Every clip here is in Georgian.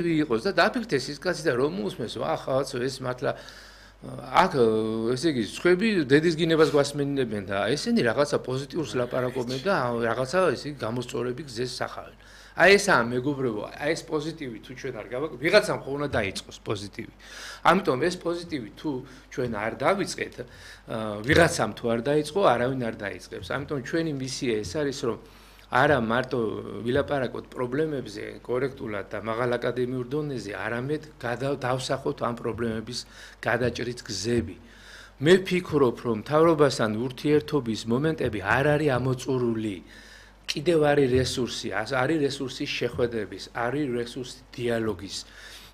იყოს და დაფიქრდეს ის კაცი და რომ უსმენს ახაც ეს მართლა აქ ესე იგი სხვები დედის გინებას გვასმენინებენ და ესენი რაღაცა პოზიტიურს ლაპარაკობენ და რაღაცა ესე იგი გამოსწორები გზეს სახავენ. აი ესაა მეგობრებო, აი ეს პოზიტივი თუ ჩვენ არ გავაკეთებთ, ვიღაცამ ხო უნდა დაიწყოს პოზიტივი. ამიტომ ეს პოზიტივი თუ ჩვენ არ დავიწყეთ, ვიღაცამ თუ არ დაიწყო, არავინ არ დაიწყებს. ამიტომ ჩვენი მისია ეს არის, რომ არა მარტო ვილაპარაკოთ პრობლემებზე კორექტულად და მაღალ აკადემიურ დონეზე, არამედ დავსახოთ ამ პრობლემების გადაჭრის გზები. მე ვფიქრობ, რომ მთავრობასთან ურთიერთობის მომენტები არ არის ამოწურული. კიდევ არის რესურსი, არის რესურსი შეხვედრების, არის რესურსი დიალოგის.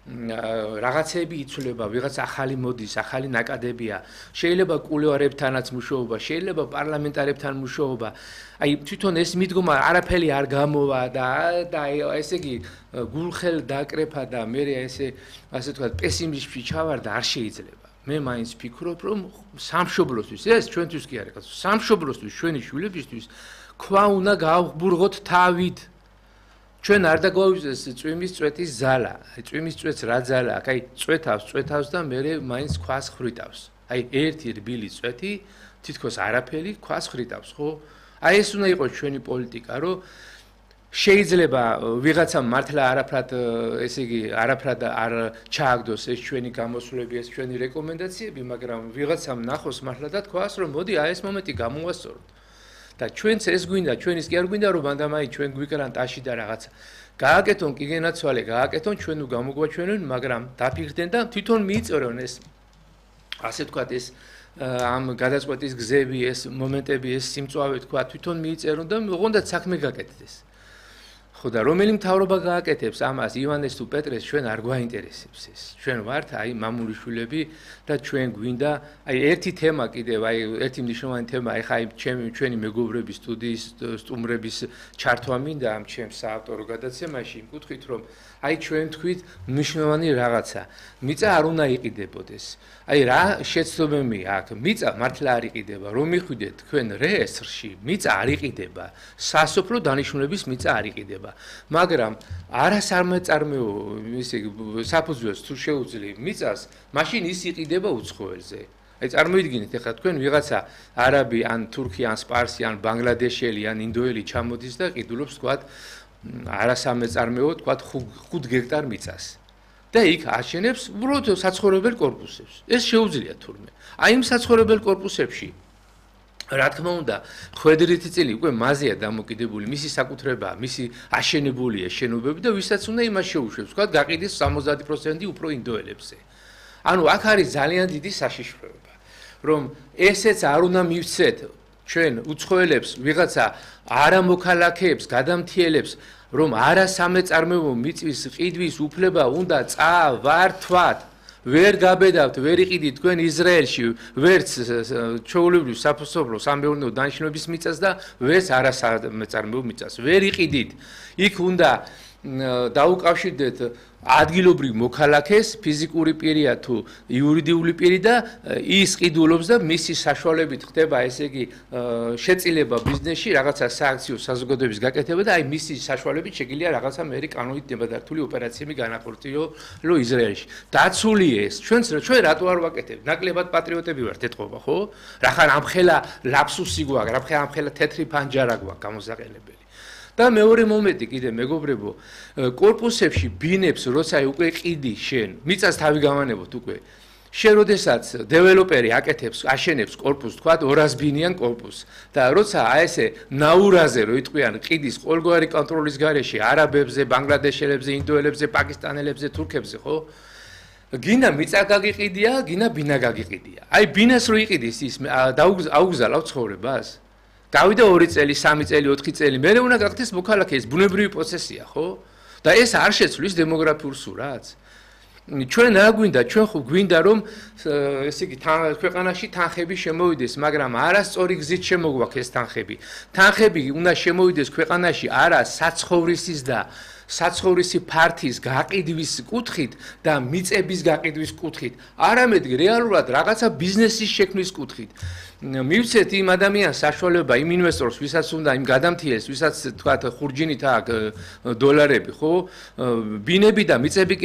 რაღაცები იცვლება, ვიღაც ახალი მოდის, ახალი ნაკადებია. შეიძლება კულუარებთანაც მუშაობა, შეიძლება პარლამენტარებთან მუშაობა. აი თვითონ ეს მიდგომა არაფერი არ გამოვა და ესე იგი გულხელ დაკრეფა და მე ასე ვთქვათ პესიმიზმში ჩავარდა არ შეიძლება. მე მაინც ვფიქრობ, რომ სამშობლოსთვის ეს ჩვენთვის კი არის, სამშობლოსთვის ჩვენი შვილებისთვის ქვა უნდა გავღბურღოთ თავით. ჩვენ არ დაგვაუწეს წვიმის წვეთის ზალა. აი წვიმის წვეთს რა ზალა აქვს? აი წვეთავს და მე მაინც ქვას ხრიტავს. აი ერთი რბილი წვეთი თითქოს არაფერი ქვას ხრიტავს, ხო? აი ეს უნდა იყოს ჩვენი პოლიტიკა, რომ შეიძლება ვიღაცამ მართლა არაფრად ესე იგი არაფრად არ ჩააგდოს ეს ჩვენი გამოსვლები, ეს ჩვენი რეკომენდაციები, მაგრამ ვიღაცამ ნახოს მართლა და თქვას, რომ მოდი აი ეს მომენტი გამოვასწოროთ. და ჩვენც ეს გვინდა, ჩვენის კი არ გვინდა რომ მანდამაი ჩვენ გვიკრან ტაში და რაღაცა. გააკეთონ კი გენაცვალე, გააკეთონ ჩვენ გამოგვაჩვენონ, მაგრამ დაფიქრდნენ და თვითონ მიიწევენ ეს ასე ვთქვათ ეს ამ გადაწყვეტის გზები, ეს მომენტები, ეს სიმწვავე თქვა, თვითონ მიიწევენ და ოღონდ საქმე გაკეთდეს. ხო და რომელი მთავრობა გააკეთებს ამას ივანეს თუ პეტრეს ჩვენ არ გვაინტერესებს ეს. ჩვენ ვართ აი მამული შვილები და ჩვენ გვინდა აი ერთი თემა კიდევ აი ერთი მნიშვნელოვანი თემა აი ხა ჩვენი მეგობრების სტუდიის სტუმრების ჩართვა მინდა ამ ჩემს საავტორო გადაცემაში იმ კუთხით რომ აი ჩვენ თქვით მნიშვნელოვანი რაღაცა მიწა არ უნდა იყიდებოდეს. აი რა შეცდომები აქვს მიწა მართლა არ იყიდება რომ მიხვიდეთ თქვენ რეესტრში მიწა არ იყიდება სასოფლო დანიშნულების მიწა არ იყიდება მაგრამ არასამეწარმეო ისე საფუძველს თუ შეუძლი მიწას მაშინ ის იყიდება უცხოელზე აი წარმოიდგინეთ ახლა თქვენ ვიღაცა არაბი ან თურქი ან სპარსი ან ბანგლადეშელი ან ინდოელი ჩამოდის და ყიდულობს თქვათ არასამეწარმეო თქვათ 5 გექტარ მიწას და იქ აშენებს უბრალოდ საცხოვრებელ კორპუსებს ეს შეუძლია თურმე აი იმ საცხოვრებელ კორპუსებში რა თქმა უნდა ხვედრითი წილი უკვე მაზეა დამოკიდებული მისი საკუთრებაა მისი აშენებულია შენობები და ვისაც უნდა იმას შეუშვებს თქვათ გაყიდეს 70% უფრო ინდოელებზე ანუ აქ არის ძალიან დიდი საშიშროება რომ ესეც არ უნდა მივცეთ ჩვენ უცხოელებს ვიღაცა არამოქალაქეებს გადამთიელებს რომ არასამეწარმეო მიწის ყიდვის უფლება უნდა წავართვათ ვერ გაბედავთ ვერ იყიდით თქვენ ისრაელში ვერც ჩვეულებრივ საფოსობლო სამეურნეო დანიშნულების მიწას და ვერც არასამეწარმეო მიწას ვერ იყიდით იქ უნდა დაუკავშირდეთ ადგილობრივ მოქალაქეს ფიზიკური პირია თუ იურიდიული პირი და ის ყიდულობს და მისი საშუალებით ხდება ესე იგი შეწილება ბიზნესში რაღაცა სააქციო საზოგადოების გაკეთება და აი მისი საშუალებით შეგიძლია რაღაცა მერი კანონით ნებადართული ოპერაციები განახორციელო ისრაელში დაცული ეს ჩვენ რატო არ ვაკეთებთ ნაკლებად პატრიოტები ვართ ეთყობა ხო რახან ამხელა ლაფსუსი გვაქვს ამხელა თეთრი ფანჯარა გვაქვს გამოსაყენებელი და მეორე მომენტი კიდე მეგობრებო კორპუსებში ბინებს როცა უკვე ყიდი შენ მიწას თავი გავანებოთ უკვე შენ როდესაც დეველოპერი აკეთებს აშენებს კორპუსს თქვა 200 ბინიან კორპუსს და როცა აი ესე ნაურაზე რო იტყვიან ყიდის ყოველგვარი კონტროლის გარეშე არაბებზე ბანგლადეშელებზე ინდოელებზე პაკისტანელებზე თურქებზე ხო გინა მიწა გაგიყიდია გინა ბინა გაგიყიდია აი ბინას რო იყიდის ის აუგზავნავ ცხოვრებას გავიდა 2 წელი 3 წელი 4 წელი მე უნდა გახდეს მოქალაქე ეს ბუნებრივი პროცესია ხო და ეს არ შეცვლის დემოგრაფიულ სურათს ჩვენ რა გვინდა ჩვენ ხო გვინდა რომ ესე იგი ქვეყანაში თანხები შემოვიდეს მაგრამ არასწორი გზით შემოგვაქვს ეს თანხები უნდა შემოვიდეს ქვეყანაში არა საცხოვრისის და საცხოვრისი ფართის გაყიდვის კუთხით და მიწების გაყიდვის კუთხით, არამედ რეალურად რაღაცა ბიზნესის შექმნის კუთხით. მივცეთ იმ ადამიანს საშუალება, იმ ინვესტორს, ვისაც უნდა იმ გადამთიელს, ვისაც თქვათ ხურჯინით აქვს დოლარები, ხო? ბინები და მიწები